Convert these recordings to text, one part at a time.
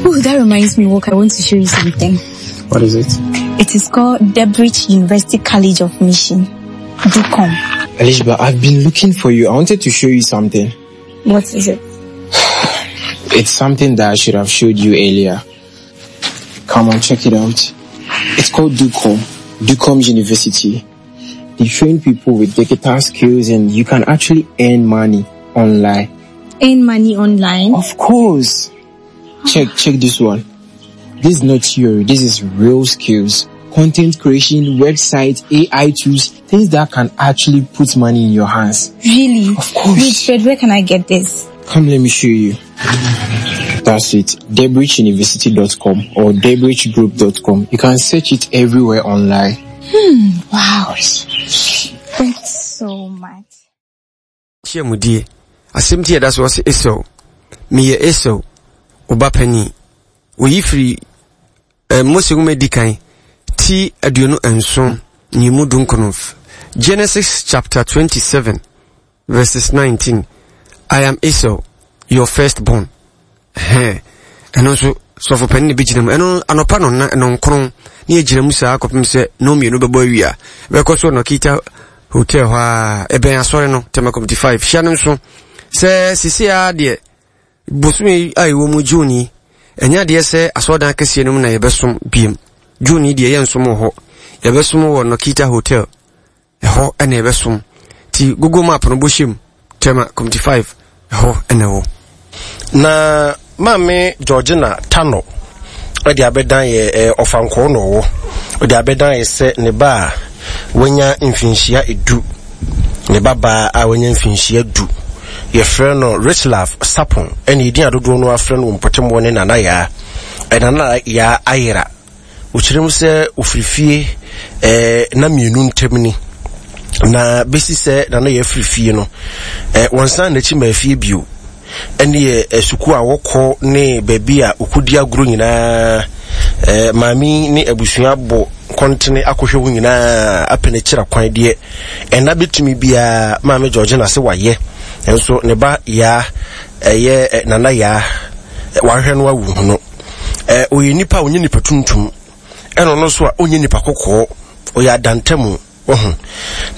Oh, that reminds me, Walker, I want to show you something. What is it? It is called Debridge University College of Mission. DUCOM. Alishba, I've been looking for you. I wanted to show you something. What is it? It's something that I should have showed you earlier. Come on, check it out. It's called DUCOM, DUCOM University. They train people with digital skills and you can actually earn money online. Earn money online? Of course. Check, check this one. This is not theory. This is real skills. Content creation, websites, AI tools, things that can actually put money in your hands. Really? Of course. Wait, Fred, where can I get this? Come, let me show you. That's it. DebridgeUniversity.com or DebridgeGroup.com. You can search it everywhere online. Hmm, wow. Thanks so much. Nhyiamudie. Asɛm ti a ɛda so ɔse Esau, meyɛ Esau, wo ba panin. Wɔyi firi eh, Mose nwoma di kan ti 27 nyimu dunkono. Genesis chapter 27 verses 19. I am Esau, your firstborn. Hɛn, ɛno nso sɔfo panin na ɛbɛgyina mu. Ɛno anɔpa no na nɔnkron ne yɛgyina mu saa kɔpem sɛ nnɔn mmienu bɛbɔ awia. Bɛkɔ so Nɔkita Hotel hɔ a ɛbɛn asɔre no Tema Committee 5. Hyia no nso sɛ sisi a deɛ bosome a ɛwɔ mu June yi ɛnyɛ adeɛ sɛ asɔredan akɛseɛ no mu na yɛbɛsom biem. June yi deɛ yɛnsom wɔ hɔ. Yɛbɛsom wɔ Nɔkita Hotel. Ɛhɔ na yɛbɛsom. Nti Google Map no bɔhyɛ mu, Tema Committee 5, ɛhɔ na ɛwɔ. Na maame Georgina Tano de abɛdan yɛ eh, ɔfankɔɔ na ɔwɔ ɔde abɛdan yɛ sɛ ne ba a wanya mfinhyia edu ne ba baa a wanya mfinhyia du yɛfrɛ no Richlove Sapon ɛne edin adodoɔ no afrɛ no wɔ mpɔtam wɔ ne Nana Yaa Nana Yaa ayera Ɔkyerɛ mu sɛ ɔfiri fie eh, na mmienu ntam ni na bɛsi sɛ na no yɛ afiri fie no eh, wɔnsan n'akyi ma afie bio ɛne eh, sukuu a wɔkɔ ne baabi a ɔkɔdi agorɔ nyinaa eh, maame ne abusua bɔ kɔntene akɔhwɛ hɔ nyinaa apɛ n'akyira kwan deɛ ɛna bɛtumi biara maame Georgina sɛ wayɛ nso ne ba yaa ɛyɛ eh, nana yaa wahwɛ no awu no Eh, ɔyɛ nipa a ɔnyɛ nipa tuntum, ɛna ɔno nso a ɔnyɛ nipa kɔkɔɔ, ɔyɛ adantamu, wahu.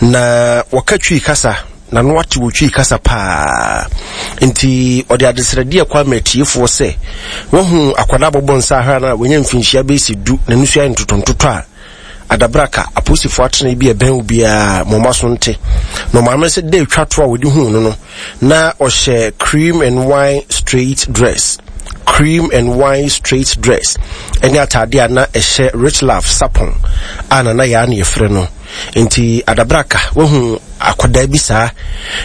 Na wɔka Twi kasa, na no ate wɔ Twi kasa paa. Nti ɔde adesrɛdeɛ kɔ ama atiefoɔ sɛ, wahu akwadaa bɔbɔ nsa ahwɛ no a wanya mfinhyia bɛsi du, n'ani so ayɛ ntotɔntotɔ a, Adabraka, apolisifoɔ atenae bi a ɛbɛn wo biara, ma wɔn aso nte. Na ɔmaame sɛ da etwa to a wɔde huu no no, na ɔhyɛ cream and wine straight dress. Cream and wine straight dress. Ɛne ataade a na ɛhyɛ Rich Love Sapon a Nana Yaa na yɛfrɛ no. Nti Adabraka, wahu akwadaa bi saa,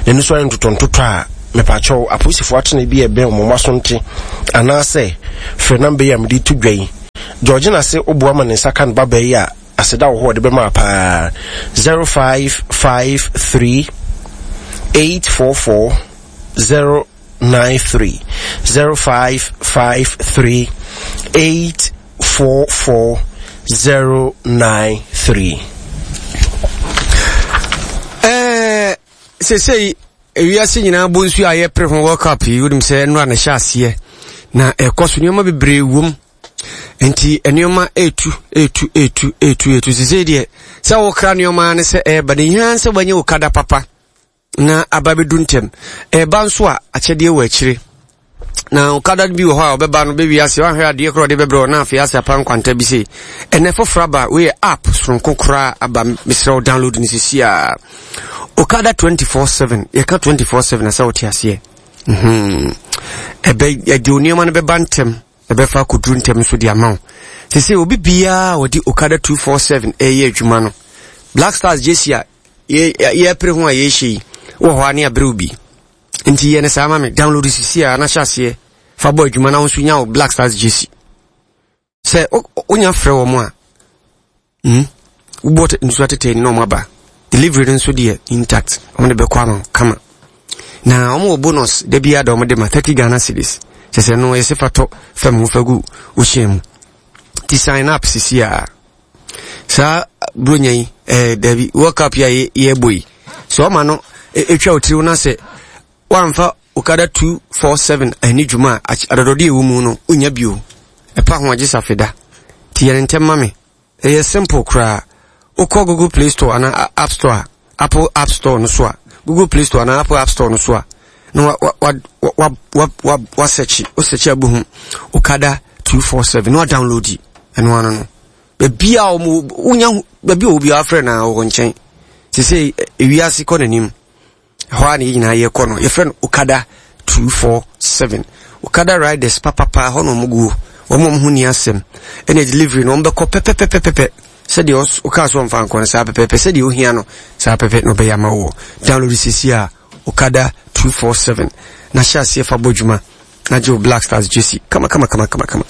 n'ani so ayɛ ntotɔntotɔ a, mepakyɛw, apolisifoɔ atenae bi a ɛbɛn wɔn aso nte. Anaasɛ, frɛ namba yi a mede to dwa yi. Georgina se woboa ma ne nsa ka ne babaa yi a, aseda wɔ hɔ a ɔde bɛma wo paa. 0553 844 093 0553 844 093. Ɛɛ sesei ewiase nyinaa bɔ nsuo a yɛpere ho World Cup yi wonim sɛ nnora na ɛhyɛ aseɛ na ɛkɔ so nneɛma bebree wom nti nneɛma etu etu etu etu etu sesei deɛ sɛ wokra nneɛma ne sɛ ɛreba ne hia sɛ wanya wo kada papa na aba bɛdu ntɛm ɛreba nso a akyɛdeɛ wɔ akyire na okada bi wɔ hɔ a ɔbɛba no bɛwi ase wahwɛ adeɛ korɔ ɔde bɛbrɛ na afei ase apa nkwanta bi sei ɛnɛ foforɔ aba wei yɛ app soronko koraa aba mesrɛ wo download no sisi a okada 24/7 yɛka 24/7 asɛ wote aseɛ mhm. ɛbɛ ɛde nneɛma no bɛba ntɛm ɛbɛfa akɔduru ntɛm nso de ama wo sese obi biara a wɔde okada 247 ɛyɛ adwuma no Black Stars gyesi a yɛpere ho a yɛhyɛ yi wɔ hɔ a ne aberɛw bi nti yɛ ne saa ma me download sisi a na hyɛ aseɛ fa bɔ adwuma na wo nso nya wo Black Stars gyesi sɛ wonya frɛ wɔn a hmm wobɔ nsuo atetɛ ni na wɔn aba delivery no nso deɛ intact wɔn de bɛkɔ ama kama na wɔn wɔ bonus da biara da wɔn de ma 30 Ghana cedis kyɛ sɛ no yɛsɛ fa tɔ fam ho fa gu wohyɛn mu ti sign up sisi a saa buronya yi ɛɛ eh, dabi world cup yi a yɛbɔ yi sɛ ɔma no etwa otiriw na sɛ wamfa okada 247 ani dwuma a adɔdɔde ɛwɔ mu no wonya bio. Ɛpa ho agye safeda. Nti yɛ no ntɛm ma me. Ɛyɛ simple koraa. Wokɔ Google Play Store anaa App Store a, Apple App Store no so a, Google Play Store anaa Apple App Store no so a, na wa wa wa wa wa wa wa search, wo search a bohu Okada 247 na wa download yi. Ɛno ano no. Baabi a wɔn wonya baabi a obi afrɛ na wɔ nkyɛn. Sese ewiase kɔ n'anim. Ɛhɔ ara na yɛn nyinaa yɛkɔ no. Yɛfrɛ no Okada 247. Okada riders papapa hɔ na wɔn guo. Wɔn a wɔn ho ni asɛm. Ɛna delivery no wɔn bɛkɔ pɛpɛpɛpɛpɛ. Sɛdeɛ ɔkaa so ɔmfa nkɔ no saa pɛpɛpɛ. Sɛdeɛ ohia no saa pɛpɛ na ɔbɛyɛ ama wɔ. Download sisi a Okada 247 na hyɛ aseɛ fa bɔ dwuma. Na gye wo Black Stars jersey kama kama kama kama kama.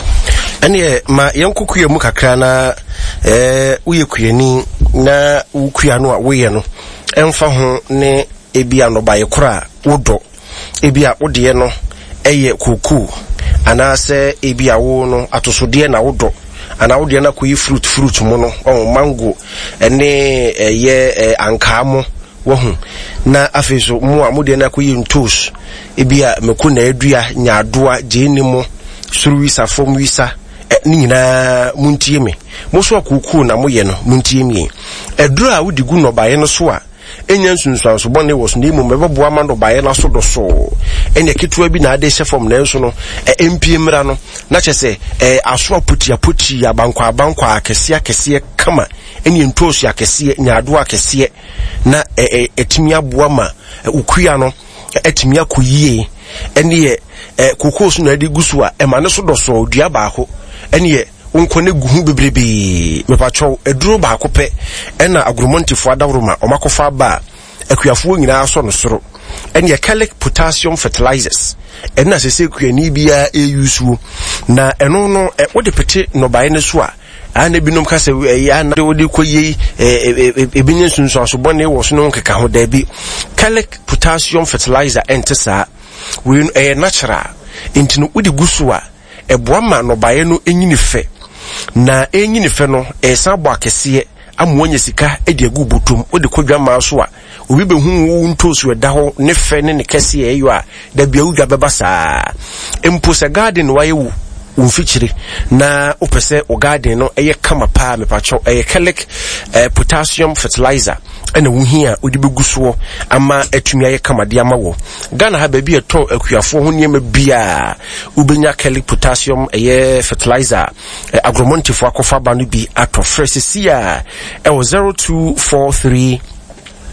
Ɛneɛ ma yɛnkɔ kua mu kakra na ɛɛ woyɛ kuani na wo kua no a woyɛ no ɛmfa ho ne ebi a nnɔbaeɛ korɔ a wodɔ ebi a wodeɛ no ɛyɛ kookoo anaasɛ ebi a wo no atosodeɛ na wodɔ anaa wodeɛ no akɔyi fruit fruit mu no ɔho mango ɛne ɛyɛ ankaa mo Wahu? Na afei nso, mo a mo deɛ no akɔyɛ ntoos, ebia mako na adua, nyaadoa, gyeene mo, soro wisa, fam wisa, ɛ, ne nyinaa montie me. Mo nso a kookoo na moyɛ no, montie me. Aduro a wode gu nnɔbaeɛ no so a ɛnnya nsunsuanso bɔne wɔ so na mmom ɛbɛboa ma nnɔbaeɛ no aso dɔsoo, ɛnneɛ ketewa bi na ade hyɛ fam nanso no, ɛ, ɛmpie mmra no, na kyerɛ sɛ, ɛ, aso apotiapotii, abankwaabankwaa, akɛseɛ akɛseɛ kama, ɛne ntoosi akɛseɛ, nyaadoa akɛseɛ. na ɛtumi aboa ma okua no atumi akɔ yie ɛneɛ kokoo so na ɛde gu so a ɛma ne so dɔsɔɔ dua baako ɛneɛ wonkɔ ne gu ho bebrebee mepakyɛw aduro baako pɛ ɛna agoromɔntefoɔ adaworoma ɔmakɔfa aba a akuafoɔ nyinaa sɔ no soro ɛneɛ kɛlek potassium fertilizers ɛna sɛ sɛ kuani biara ɛyusuo na ɛno no wode pete nnɔbaeɛ no so a A na ebinom ka sɛ ɛyɛ a na wode kɔ yei ebi nye nsunsuanso bɔne wɔ so ne ho nkeka ho. Daabi, Kalic potassium fertilizer ɛnte saa. Wei no ɛyɛ natural, nti no wode gu so a ɛboa ma nnɔbaeɛ no nyini fɛ. Na ɛnyini fɛ no ɛsan bɔ akɛseɛ ama woanya sika de agu bɔtɔm. Wode kɔ dwamaa so a Obi bɛhu wo ntoosi ɛda hɔ ne fɛ ne ne kɛseɛ ɛyɔ a, da bia wo dwa bɛba saa. Mpo sɛ garden na wayɛ wo wo mfikyire na wopɛ sɛ wo garden no ɛyɛ kama paa mepakyɛw ɛyɛ kɛlɛk eh, potassium fertilizer ɛna wohia a wode bɛgu soɔ ama atumi ayɛ kama de ama wɔ Ghana ha baabi a ɛtɔn akuafoɔ ho nneɛma biaa wobɛnya kɛlɛk potassium ɛyɛ fertilizer eh, agromontefoɔ akɔfa ba no bi atɔ frɛ sisi a ɛwɔ 0243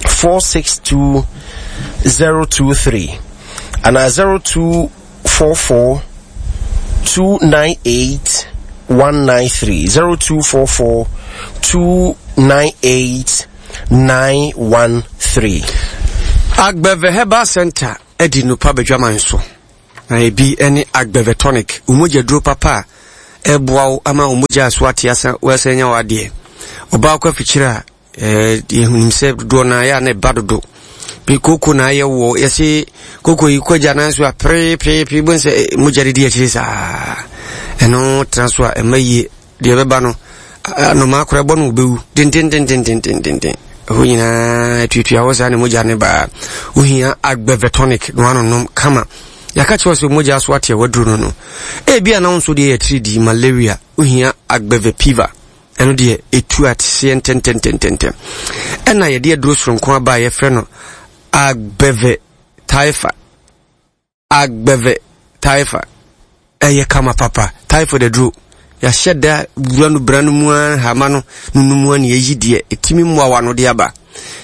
462 023 anaa 0244 298 193 0244 298 913. Agbeve Herbal Center adi nnupa badwaman so, na ebi ne Agbeve Tonic, wo mogya duro papa a ɛboa wo ama wo mogya so ate asa woasan anya w'adeɛ. Ɔbaa kɔ afikyire a yɛhunim sɛ dodoɔ no ayɛ a na ɛba dodo bi koko na ayɛ wɔ yɛse koko yi kɔgya nan so a perepeepee bohu sɛ mogya de di akyire saa ɛno tena so a ɛma yie deɛ ɛbɛba no anomaa koraa ɛbɔ no wobɛwu dendendendendendenden ɛhɔ nyinaa atuatua hɔ saa ne mogya ne baa wohia agbɛvɛtonic na wanonom kama yɛaka kyerɛ sɛ mogya so ateɛ waduro no no ebia na wo nso deɛ yɛ tiridi malaria wohia agbɛvɛ piva Ɛno deɛ ɛtu ateseɛ ntɛntɛntɛntɛntɛm. Ɛna yɛde aduro soronko aba a yɛfrɛ no agbɛvɛ taifa. Agbɛvɛ taifa. Ɛyɛ kama papa. Typhoid aduro. Yɛahyɛ da wura no bra no mu ara hama no no no mu ara na yɛyi deɛ ɛtumi mmoawa no de aba.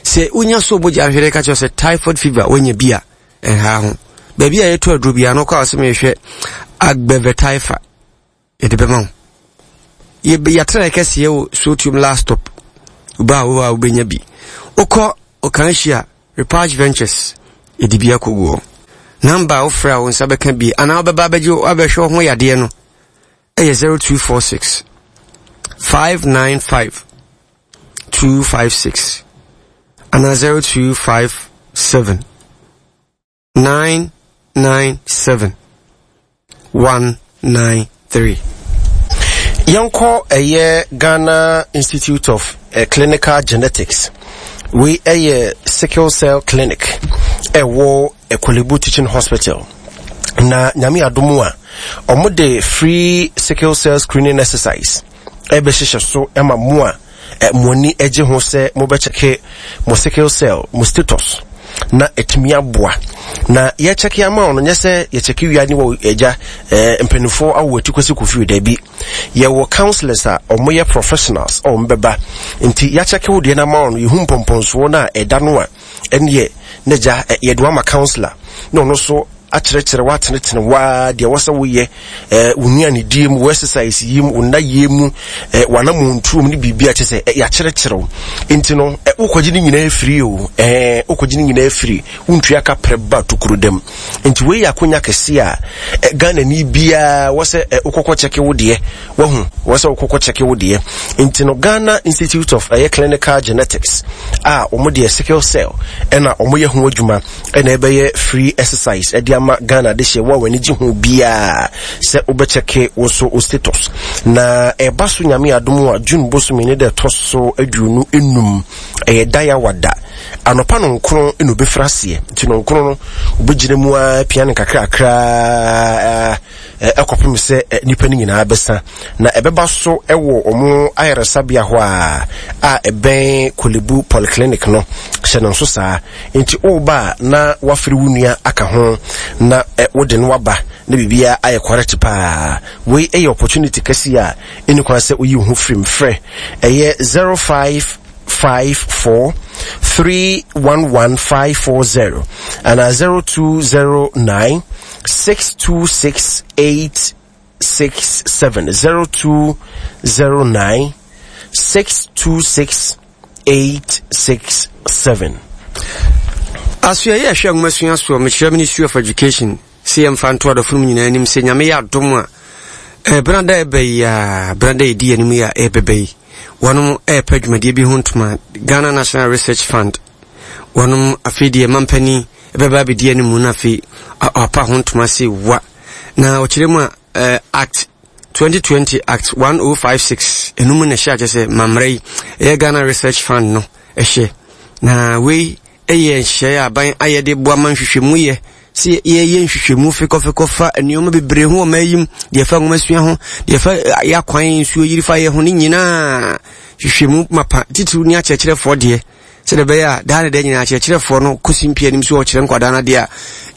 Sɛ wonya so mogya ahwere ka kyerɛ sɛ typhoid fever woanya bi a ɛnha ho. Baabi a yɛtɔ aduro biara no kɔ a sɛ mehwɛ agbɛvɛ taifa. Yɛde bɛma wo. Yɛatena kɛseɛ wɔ Sotium last stop. Woba a wowɔ a wobɛnya bi. Wokɔ Okanhyi a, Repage Ventures, yɛde bi akɔgu hɔ. Namba a wofrɛ a wo nsa bɛka bi anaa wobɛba abɛgye abɛhwɛ wo ho yadeɛ no ɛyɛ 0246 595 256 anaa 0257 997 193. Yɛnkɔ ɛyɛ Ghana Institute of eh, Clinical Genetics. Wei ɛyɛ sickle cell clinic ɛwɔ Korle Bu Teaching Hospital. Na nyame adom a Ɔmo de free sickle cell screening exercise ɛbɛhyehyɛ so ma mo a mo ani gye ho sɛ mobɛkyɛke mo sickle cell mo status na ɛtumi aboa. Na yɛkyɛke ama wo no nyɛ sɛ yɛkyɛke wia ne wɔ agya mpanimfoɔ awo ati kwasi kofi daabi. Yɛwɔ counsellors a wɔyɛ professionals a wɔbɛba nti yɛakyɛke wo deɛ no ama wo no yɛhu mpɔmpɔnsoɔ no a ɛda no a ɛneɛ na gya yɛde wama counsellor na ɔno nso akyerɛkyerɛ woatenetene waa deɛ wɔ sɛ woyɛ wo nnuanedie mu wo exercise yi mu wo nna yie mu w'anamontuo mu ne biribi a kyɛ sɛ yɛakyerɛkyerɛ wo nti no wokɔgye ne nyinaa firi o wokɔgye ne nyinaa firi wontua ka prɛ ba tokuro dam Nti wei yɛ akonya kɛseɛ a eh, Ghanani biara wɔ sɛ eh, wokɔkɔ kyɛke wo deɛ wahu wɔ sɛ wokɔkɔ kyɛke wo deɛ nti no Ghana Institute of ɛyɛ Clinical Genetics a wɔn deɛ sickle cell ɛna wɔn yɛ ho adwuma ɛna ɛbɛyɛ free exercise ɛde ama Ghana de hyɛ wo a w'ani gye ho biara sɛ wobɛkyɛke wo so wo status na ɛba so nyame adom a June bosome ne da ɛtɔ so 25 ɛyɛ dayawada Anɔpa nɔnkron na obɛfiri aseɛ, nti nɔnkron no obɛgyina mu ara pia no nkakrakra ɛkɔpem sɛ nnipa no nyinaa bɛsa. Na ɛbɛba so wɔ wɔn ayaresabea hɔ a a ɛbɛn Korle-Bu Polyclinic no, hyɛ no nso saa. Nti woba a na wafiri wo nua aka ho na wode no aba na biribiara ayɛ correct paa. Wei yɛ opportunity kɛseɛ a ɛni kwan sɛ woyi wo ho firim. Frɛ ɛyɛ 05 54 311 540 anaa 0209 626 867 0209 626 867. Asoɛeɛ a ɛhwɛ nwomasua soɔ, mekyerɛ Ministry of Education, sɛ yɛmfa nto adɔfo nom nyinaa anim sɛ Nyame yɛ adom a, eh, benada ɛbɛ yi a, benada ɛdi anim yi a ɛbɛbɛ yi, wɔnom ɛrepɛ dwumadie bi ho ntoma, Ghana National Research Fund, wɔnom afei deɛ mampanin ɛbɛba abɛdi anim no afei ɔpa ho ntoma se wa. Na ɔkyerɛ mu a, eh, Act 2020 Act 1056 ɛno mu na ɛhyɛ akyɛ sɛ mammerɛ yi ɛyɛ Ghana Research Fund no ɛhyɛ. Na wei ɛyɛ nhyehyɛeɛ a aban ayɛ de boa ma nhwehwɛmu yɛ sɛ yɛyɛ nhwehwɛmu fekɔfekɔ fa nneɛma bebree ho wɔ ɔman yi mu, deɛ ɛfa nwomasua ho, deɛ ɛfa eh, yɛ akwan nsuo yiri fa yɛ ho ne nyinaa hwehwɛmu mapa titiriw ne akyerɛkyerɛfoɔ deɛ sɛdeɛ ɛbɛyɛ a daa ne da nyinaa akyerɛkyerɛfoɔ no kɔsi mpia anim so ɔkyerɛ nkwadaa no adeɛ a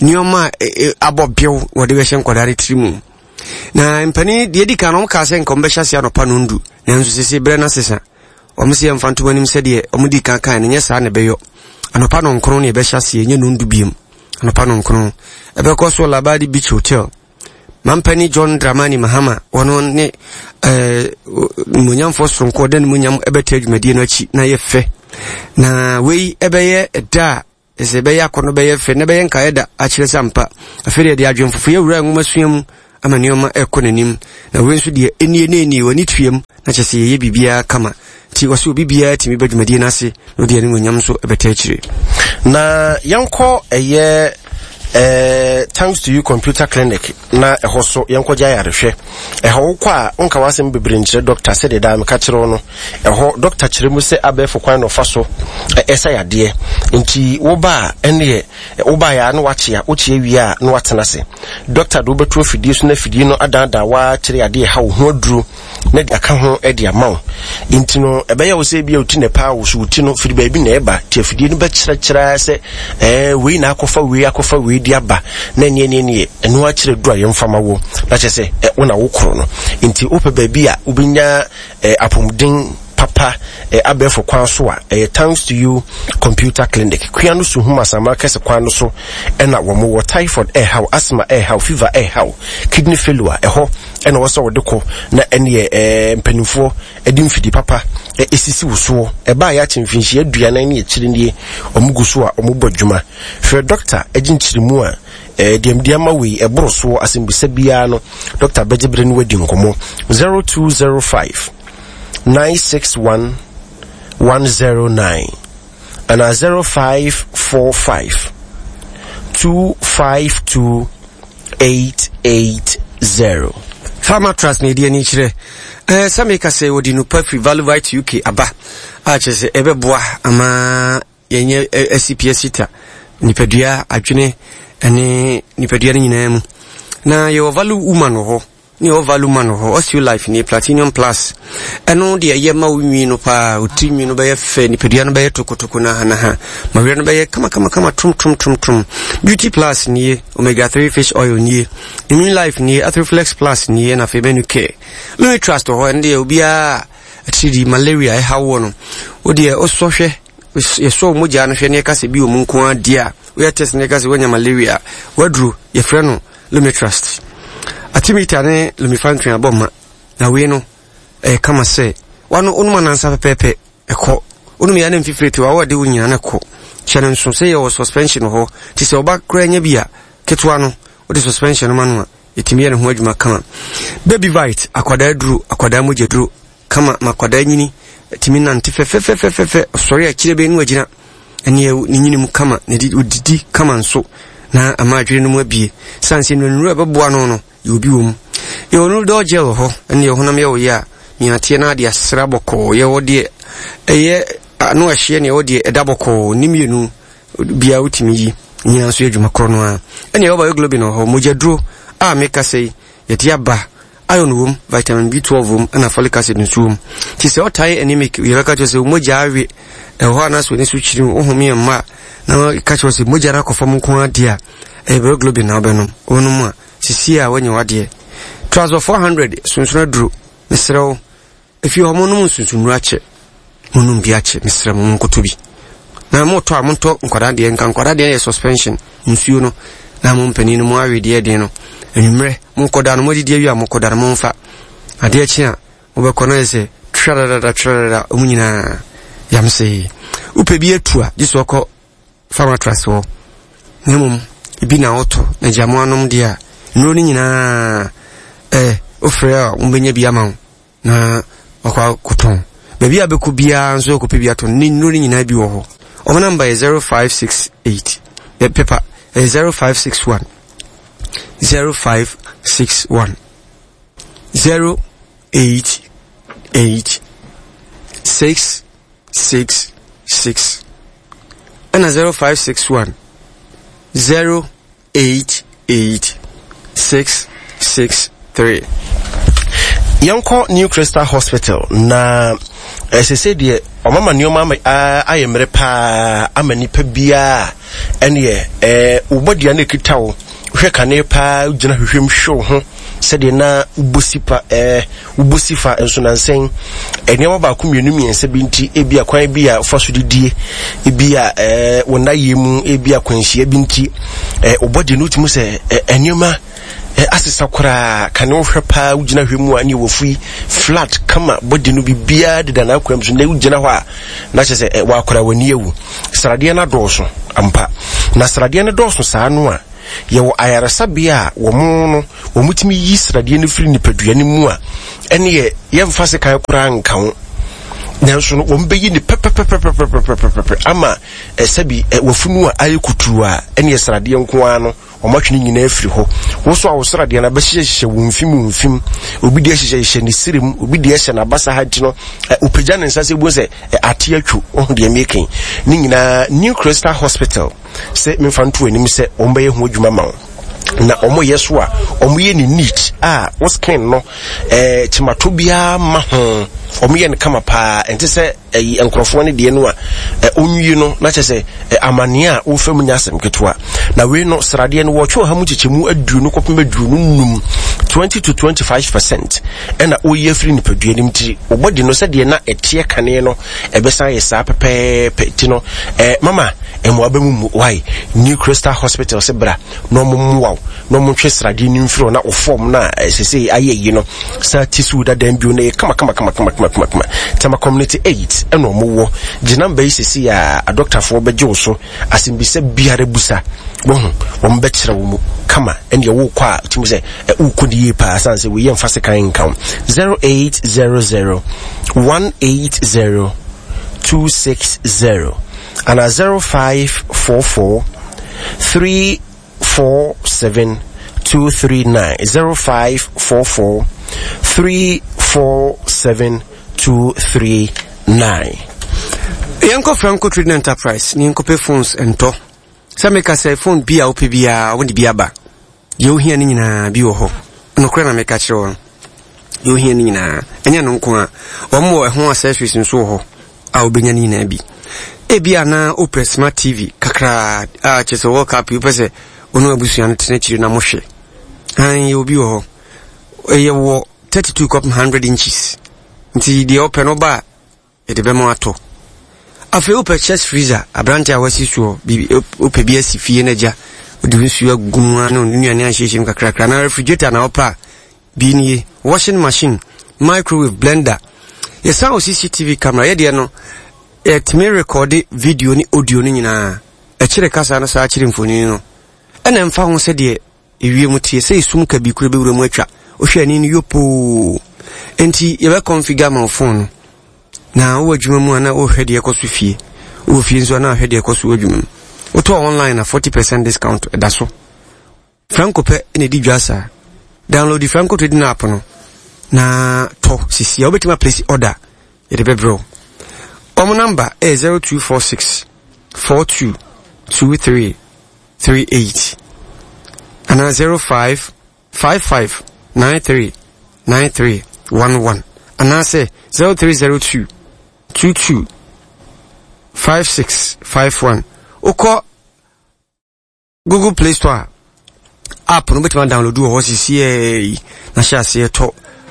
nneɛma a eh, eh, abɔ bew wɔde bɛhyɛ nkwadaa no tiri mu na mpanin deɛ di kan no wɔn kaa sɛ nka wɔn bɛhyɛ ase anɔpa nondu nanso sese berɛ no asesa Wɔn se yɛmfa nto anim sɛdeɛ wɔn dii kan kae no, nyɛ saa na ɛbɛyɔ. Anɔpa nɔnkron na yɛbɛhyɛ aseɛ, nyɛ nondu biom. Anɔpa nɔnkron. Ɛbɛkɔ so Labadi Beach Hotel. Mampani John Dramani Mahama, wɔn ne eh, mmonyamfoɔ soronko ɔda ne munyam ɛbɛta adwumadie no akyi na yɛ fɛ. Na wei ɛbɛyɛ ɛda a Sɛ ɛbɛyɛ akɔnnɔ, bɛyɛ fɛ, na ɛbɛyɛ nkaeɛ da akyerɛ sɛ ampa, afei deɛ yɛde adwene foforɔ awura nwomasua mu ama nneɛma ɛrekɔ n'anim. Na wei nso deɛ, ɛnie na ɛnie, w'ani tuam, na kyerɛ sɛ yɛyɛ biribiara kama. Nti wɔsɛ obi biara tumi ba dwumadie no ase na ɔde animuonyam nso ɛbɛta akyire. Na yɛnkɔ ɛyɛ eh, Thanks to You Computer Clinic na ɛhɔ so yɛnkɔgye ayarehwɛ. Ɛhɔ wokɔ a wonka w'asɛm bebree nkyerɛ dɔkta sɛdeɛ daa meka kyerɛ wo no. Ɛhɔ dɔkta kyerɛ mu sɛ abɛɛfo kwan na ɔfa so ɛsa yadeɛ. Nti woba a ɛneɛ wobaeɛ a na wakyea, wokyea wie a na watena ase. Dɔkta de wobɛto afidie so na afidie no adaadaa wo ara kyerɛ yadeɛ ɛha wo ho aduro na de aka ho de ama wo. Nti no ɛbɛyɛ wo sɛ ebia wo ti na ɛpaa wo so wo ti no firi baabi na ɛba nti afidie no bɛkyerɛkyerɛ ara sɛ ɛɛ wei na akɔfa wei akɔfa wei de aba na ɛneɛ neɛ neɛ ɛno akyerɛ duro a yɛmfa ma wo na kyerɛ sɛ ɛ wo na wo koro no. Nti wopɛ baabi a wobɛnya ɛ apɔmuden papa ɛ abɛɛfo kwan so a ɛyɛ Thanks to You Computer Clinic kua no Suhum Asaman kɛse kwan no so ɛna wɔn wɔ. Typhoid ɛɛhaw, asthma ɛɛhaw, fever ɛɛhaw, kidney failure ɛhɔ ɛna wɔ sɛ wɔde kɔ na ɛneɛ ɛɛ mpanimfoɔ ɛde mfidi papa ɛsisi wo soɔ. Ɛbaa yɛ akyɛ mfinhyia aduanan ne akyire nie wɔn gu so a wɔn bɔ adwuma. Frɛ dɔkta ɛgye nkyerɛmu a ɛɛ deɛ mede ama wei ɛboro soɔ asɛmbisa biara no dɔkta bɛgye bere no wadi nkɔmmɔ 0205 961 109 anaa 0545 252 880. Farmer Trust na ɛdi ani kyerɛ eh, sɛ meka sɛ wɔde nupa firi Valuvite UK aba a kyerɛ sɛ ɛbɛboa ama yɛnyɛ asipi asita nipadua adwene ne nipadua no nyinaa mu. Na yɛwɔ Value Woman wɔ hɔ, ne yɛwɔ Value Man wɔ hɔ, Osteo Life nie, Platinum Plus. Ɛno deɛ ɛyɛ ma wo nwi no paa, wo tiri nwi no bɛyɛ fɛ, nipadua no bɛyɛ tokotoko nahanaha, ma werɛ no bɛyɛ kama kama kama trom trom trom trom. Beauty Plus nie, Omega 3 Fish Oil nie, Immune Life nie, Arthroflex Plus nie, na afei Menu Care. Lumi Trust wɔ hɔ, ɛno deɛ obiara atiridii malaria ɛha woɔ no, wo deɛ wosɔ hwɛ, yɛsɔ wo mogya no hwɛ na yɛka sɛ bi wɔ mu nko ara deɛ a, woyɛ test na yɛka sɛ woanya malaria a, waduro yɛfrɛ no Lumitrust. Artemether ne Lumefantrine abɔ ma, na wei no ɛyɛ kama sɛ wano wonom anansa pɛpɛɛpɛ ɛkɔ. Wonom yɛ na mfifire te wawɔ de wo nyina no kɔ. Hyɛ no nso sɛ yɛwɔ suspension wɔ hɔ, nti sɛ ɔba koraa nya bi a, ketewa no wode suspension no ma no a, ɛtumi yɛ ne ho adwuma kama. Baby Vite, akwadaa duro, akwadaa mogya duro, kama ma akwadaa nyini, tumi nante fɛfɛfɛfɛfɛ, ɔsɔre akyire bɛn no wagyina, ɛne ne nyini mu kama, na odidi kama nso, na ama adwene no mu abie. Sane sɛ nnuro a ɛbɛboa no no, yɛ obi wɔ mu. Yɛwɔ Nudol gel wɔ hɔ, ɛne yɛ honam yɛ wo yɛ a, miateɛ na ade asra bɔkɔɔ. Yɛwɔ deɛ ɛyɛ ano ɛhyeɛ ne yɛwɔ deɛ ɛda bɔkɔɔ, ne mmienu biara wotumi yi, nyinaa nso yɛ adwuma korɔ no ara. Ɛne yɛwɔ bioglobin wɔ hɔ, mogyaduro a meka sɛ yi, yɛde aba Iron wom, vitamin B12 wom, ɛna folic acid nso wom. Nti sɛ ɔtaa yɛ anemic, yɛbɛka kyerɛ sɛ mogya awe ɛwɔ hɔ anaasɛ w'ani so kyiri wo home yɛ mma a, na ka kyerɛ sɛ mogya no akɔ fam nko ara deɛ a, ɛyɛ hemoglobin na wobɛnom. Wonom a, sisi a woanya w'adeɛ. Trazol 400, sunsun aduro, mesrɛ wo, Efie hɔ monom nsunsonnuru akyɛ. Monom bi akyɛ, mesrɛ mo monkoto bi. Na motɔ a montɔ nkwadaa deɛ, nka nkwadaa deɛ yɛ suspension, nsuo no, na mo mpanin no mo awe deɛ den no. Anwummerɛ, mokɔda no, moadidi awie a mokɔda no, momfa. Adeɛ kye a, mobɛkɔ no ayɛ sɛ tradadada tradadada, ɔmo nyinaa yamsee. Wopɛ bi atu a, gye sɛ ɔkɔ Pharmatrust hɔ. Na mmom, ebi na wotɔ, na gya mo anom deɛ a, nnuro no nyinaa, eh, wofrɛ a wɔbɛnya bi ama wo. na wakɔ akɔtɔn. Baabi a bɛkɔ biara nso akɔpɛ bi atɔn. Ne nnuro no nyinaa bi wɔ hɔ. Wɔn namba yɛ 0568 ɛ pepa ɛyɛ 0561 0561 088 666 ɛna 0561 0 8 8 6 6 3. Yɛnkɔ New Crystal Hospital na ɛsɛ sɛ deɛ ɔmama nneɛma ayɛ mmerɛ paa ama nipa biara ɛneɛ ɛɛ wobɔ deɛ no ekita wo hwɛ kane paa gyina hwehwɛ mu hwɛ wo ho sɛdeɛ na wobɔ si pa ɛɛ wobɔ si fa nso nansɛn nneɛma baako mmienu mmiɛnsa bi nti ebi a kwan bi a fa so didie ebi a ɛɛ wɔn ayɛ mu ebi a kwanhyia bi nti ɛɛ wobɔ deɛ no wotumi sɛ ɛɛ nneɛma ɛɛ asesa koraa kane wohwɛ paa wogyina hwɛ mu a ne wɔfui flat kama bɔde no biribiara deda n'akwan mu so na wogyina hɔ a na kyerɛ sɛ ɛɛ wakora w'ani awu sradeɛ no adɔɔso ampa na sradeɛ no dɔɔso saa no a Yɛwɔ ayaresabea a wɔn no wɔtumi yi sradeɛ no firi nipadua no mu a ɛneɛ yɛmfa sekan koraa nka ho nanso no wɔn bɛyi ne pɛpɛpɛpɛpɛpɛpɛpɛ ama sɛbi wafunu a ayɛ kutuu a ɛneɛ sradeɛ nko ara no wɔn atwe ne nyinaa afiri hɔ woso a wo sradeɛ no abɛhyehyɛhyehyɛ wo mfim wo mfim obi deɛ hyehyɛhyehyɛ ne sirim obi deɛ hyɛ n'abasa ha nti no opagya ne nsa sɛ bu sɛ ate atwo ɔho deɛ meken ne nyinaa New Crystal Hospital sɛ memfa nto anim sɛ wɔbɛyɛ ho adwuma ma wo na wɔyɛ so a wɔyɛ ne neat a wo skin no ɛɛ eh, kyimato biara ma ho wɔyɛ no kama paa ɛnte sɛ ɛyi nkurɔfoɔ no deɛ no a ɛ onwie no na kyɛ sɛ ɛ amaneɛ a wofa mu nya asɛm ketewa na wei no sradeɛ no wɔtwe ɔha mu nkyekyɛmu aduonu kɔpem aduonu num 20 to 25 percent ɛna woyi afiri nipadua no mu tiri wɔbɔdi no sɛdeɛ na ɛteɛ kane no ɛbɛsan yɛ saa pɛpɛɛpɛ ti no eh, mama mmoa bɛ mu mu why New Crystal Hospital sɛ bra na ɔmo mmoa wo na ɔmo ntwe sradeɛ no mfiri hɔ na wo fɔm no a eh, sese ayɛ yi no saa ti so dadan bio na ɛyɛ kama kama kama kama kama kama kama Tema Community 8 ɛna ɔmo wɔ gye namba yi sese a adɔktafoɔ bɛgye wo so asɛmbisa biara busa wɔho wɔn bɛkyerɛ wo mu kama ɛne ɛwo kɔ a tumi sɛ wokɔ ne yie paa sane sɛ wei yɛmfa sekan nka wo 0800 180 260 ana 0544 347 239 0544 347 239 yɛnkɔ Franco Trading Enterprise ne yɛnkɔpɛ phones ntɔ sɛ meka sɛ phone bi a wopɛ biara wode bi aba. Deɛ wohia no nyinaa bi wɔ hɔ. Nokorɛ na meka kyerɛ wo no. Deɛ wohia no nyinaa. Ɛnyɛ no nko a. Wɔn wɔ ɛho accessories nso wɔ hɔ a wobɛnya no nyinaa bi. Ebi a na wopɛ smart TV kakraa a kyerɛ sɛ World Cup yi wopɛ sɛ wo ne w'abusua no tena akyiri na mohwɛ. An yɛ obi wɔ hɔ. Ɛyɛ wɔ 32 kɔpem 100 inches. Nti deɛ wopɛ no ba a Yɛde bɛma watɔ. Afei wopɛ chest freezer, aberante a wasi soɔ, biribi, wopɛ bi asi fie no agya, wode nsuo agu mu ano, nnuane ahyehyɛ mu kakrakra, na refrigerator na wopɛ a, bi nie, washing machine, microwave, blender. Yɛsan wɔ CCTV camera, yɛdeɛ no, yɛtumi rekɔde video ne audio no nyinaa. Ɛkyerɛ kasa no saa kyerɛ mfonini no. Ɛna ɛmfa ho sɛdeɛ Ewiem teɛ sɛ esum kabii koro bɛwura mu atwa. Wohwɛ ani no yopoo. Enti yɛbɛ configure ama wo phone no. Na wowɔ adwuma mu a na wohwɛ deɛ ɛkɔ so fie. Wowɔ fie nso a na ahwɛ deɛ ɛkɔ so wɔ adwuma mu. Wotɔ online a 40% discount ɛda so. Franco pɛ na ɛdi dwa saa. Download the Franco Trading app no na tɔ sisi a wobɛtumi aplace order yɛde bɛbrɛ wo. Wɔn namba ɛyɛ 0246 42 23 38 anaa 05 55 93 93 11 anaasɛ 0302 22 56 51. Wokɔ Google Play Store a, app no wobɛtumi adownload wɔ hɔ sisiɛ yi na hyɛ aseɛ tɔ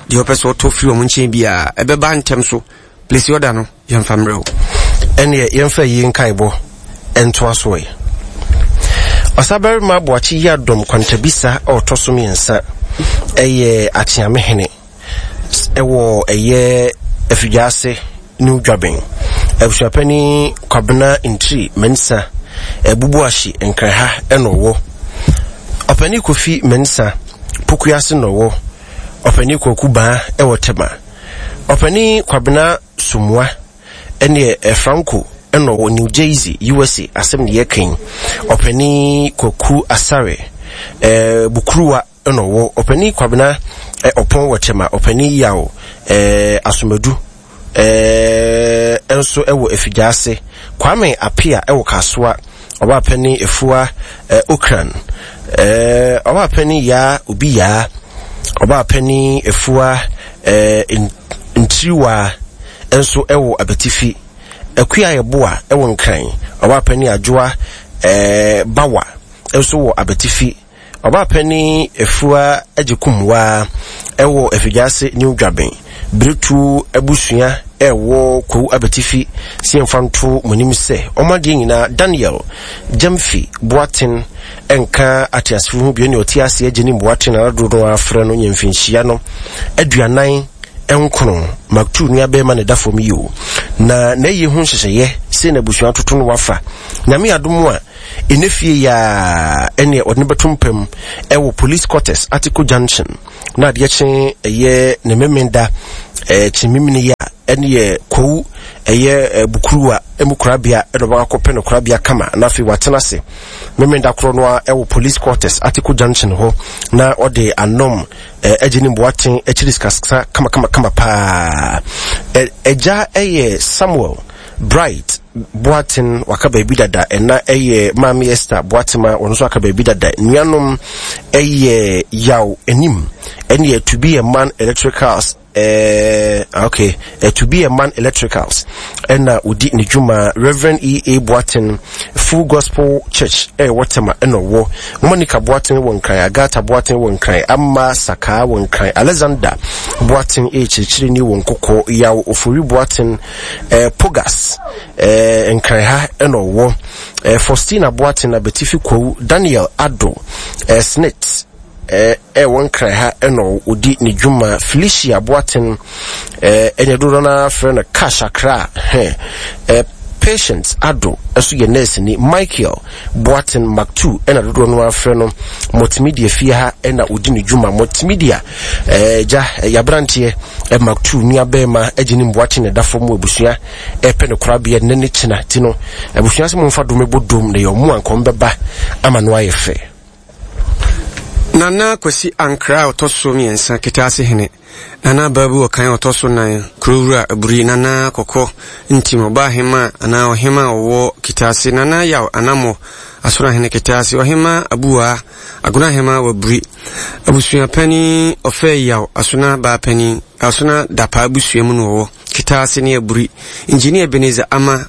deɛ wopɛ sɛ ɔtɔ firi wɔn nkyɛn biara ɛbɛba ntɛm so. Place order no yɛmfa mmerɛ wo. Ɛneɛ yɛmfa yie nkaebɔ ntoa so ɛ. Ɔsabarima Boakye Yiadom Kwantabisa a ɔtɔ so mmiɛnsa yɛ Akyeamehene wɔ ɛyɛ Afigyaase New Dwaben. Abusuapanin Kwabena Ntiri Mensah Abubuahye Nkraha na ɔwɔ. Ɔpanin Kofi Mensah Pokuase na ɔwɔ. Ɔpanin Kwaku Baa wɔ Tema. Ɔpanin Kwabena Somoa ɛneɛ Franco ɛna ɔwɔ New Jersey, USA asɛm ne yɛka yi. Ɔpanin Kwaku Asare ɛɛ Bukuruwa ɛna ɔwɔ. Ɔpanin Kwabena Ɔpɔn wɔ Tema. Ɔpanin Yaw ɛɛ Asomadu ɛɛ nso ɛwɔ Afigyaase. Kwame Apia ɛwɔ Kasoa. Ɔbaapanin Efua ɛɛ Okran ɛɛ Ɔbaapanin Yaa Obi Yaa. Ɔbaapanin Efua ɛɛ Ntiriwa nso wɔ Abetifi. Akua Yeboah wɔ Nkran. Ɔbaapanin Adwoa Bawa nso wɔ Abetifi. Ɔbaapanin Afua Agyekumwaa wɔ Afigyaase New Dwaben. Biretuo abusua ɛwɔ Kwawu Abetifi sɛ yɛmfa nto mo anim sɛ wɔn adeɛ nyinaa Daniel Gyamfi Boateng nka ateasefo ho bio ne ɔte ase agye ne mmoa na dodoɔ no ara frɛ no nya mfinhyia no 49 Maktu nuabarima na ɛda fam yi o na n'ayie ho nhyehyɛeɛ sei na abusua toto no wafa Nyame adom a ɛnɛ fie yi a ɛneɛ ɔde no bɛto mpam ɛwɔ police quarters Atiko Junction na adeɛ kye ɛyɛ ne memenda ɛkye memene yi a ɛneɛ Kwawu ɛyɛ Bukuruwa mu korabea ɛna ɔbɛkɔ akɔpɛ no korabea kama na afei watena ase Memenda korɔ no ara wɔ Police Quarters, Atiku Junction hɔ na ɔde anom agye ne mboaten akyiri sikasa kamakamakama paa. Agya yɛ Samuel Bright Boaten, waka baabi dada. Ɛna yɛ Maame Esther Boatema, wɔn nso aka baabi dada. Nuanom yɛ Yaw Anim, ɛne yɛ To Be a Man Electricals Eh, okay. Eh, to be a man electricals. Ɛna odi ne dwuma Reverend E. A. Boateng Full Gospel Church ɛwɔ Tema ɛna ɔwɔ. Monica Boateng wɔ Nkran, Agatha Boateng wɔ Nkran, Amma Sakaa wɔ Nkran, Alexander Boateng ɛyɛ kyerɛkyerɛni wɔ Nkokɔ, Yaw Ofori Boateng eh, Pogas eh, Nkran ha ɛna ɔwɔ. Eh, Faustina Boateng Abetifi Kwawu, Daniel Addo eh, Snit ɛwɔ Nkran ha ɛna ɔdi ne dwuma. Felicia Boateng ɛna dodoɔ no ara frɛ no Cash Accra hɛ Patience Addo ɛso yɛ nurse ni. Michael Boateng Mactu ɛna dodoɔ no ara frɛ no. Multimedia fie ha ɛna ɔdi ne dwuma. Multimedia gya yabranteɛ Mactu nua bɛrima agye ne Boateng na ɛda fam abusua ɛpɛ no korabea nnɛ ne kyena ti no abusua sɛ momfa dom ɛbɔ dom na yɛ ɔmo ankɔm bɛba ama no ayɛ fɛ. Nana Kwasi Ankrah a ɔtɔ so mmiɛnsa, Ketaase hene, Nana Baabu Ɔkan a ɔtɔ so nan, Kurowura Aburi, Nana Kɔkɔ Ntim, Ɔbaahemaa anaa Ɔhemaa a ɔwɔ Ketaase, Nana Yaw Anammɔ. Asono Ahene Ketaase, Ɔhemmaa Abuwaa, Agona Ahemaa Waburi, Abusua Panin Ɔfɛe Yaw, Asona Baa Panin, Asona Dapaa abusua mu na ɔwɔ, Ketaase ne Aburi, Engineer Ebenezer Ama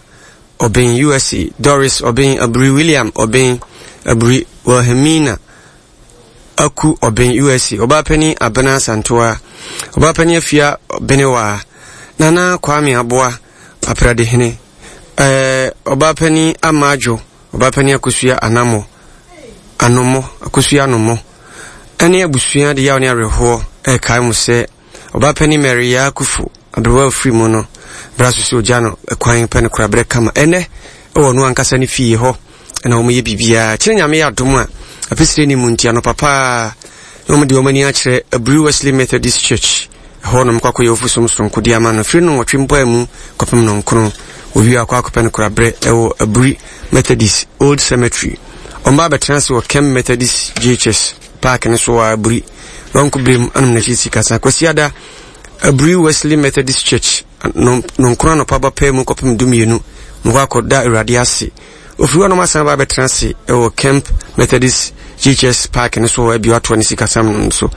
Ɔben, USA, Doris Ɔben Aburi, William Ɔben Aburi, Wilhelmina Aku Ɔben, USA, Ɔbaapanin Abena Asantewaa, Ɔbaapanin Afia Benewaa, Nana Kwame Aboa, Apradehene, ɛɛ, Ɔbaapanin Ama Adwo, Ɔbaapanin Akosua Anamo, Anomo, Akosua Anomo, ɛne abusua de yaw ne awerɛhoɔ ɛrekae mo sɛ Ɔbaapanin Mary Yaa Akufo, aberewa a ɔfiri mu no, bra so sɛ ogya no kwan pɛ no koraberɛ kama. Ɛnnɛ, ɛwɔ ɔno ankasa ne fie hɔ na wɔyɛ biribiara. Kyerɛ Nyame yɛ adom a, apesire ne mu nti anɔpa paa na wɔde wɔn ani akyerɛ Aburi Wesley Methodist Church. Ɛhɔ nom kɔ akɔyɛ ofusom soronko de ama no. Firi nnɔnwɔtwe mpae mu kɔpem nnɔnkron. Wɔwie akɔ akɔpɛ no koraberɛ ɛwɔ Aburi Methodist Old Cemetery. Wɔn ba abɛtena ase wɔ Kem Methodist JHS Park no so wɔ Aburi. Lɔnko berem anom n'akyi sikasa. Kwasiada, Aburi Wesley Methodist Church, Nɔnkron anɔpa ba pɛɛ mu kɔpem dumienu, mokɔ akɔda Awurade ase. Ofiri hɔ nom asan ba abɛtena ase wɔ Kemp Methodist GHS Park no so hɔ abio atoa ne sikasɛm no so.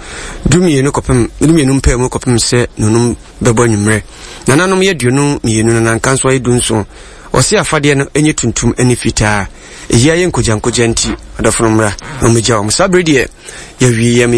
Dumienu kɔpem, dumienu mpɛɛ mu kɔpem sɛ nonum bɛbɔ anwummerɛ. Nananom yɛ 22 na nanka nso ayɛ 17. Ɔse afadeɛ no nyɛ tuntum ne fitaa. Eyi ayɛ nkogyankogya nti, adɔfo no mmra na wɔmmɛgya wɔn. Saa bere deɛ, yɛawie yɛn.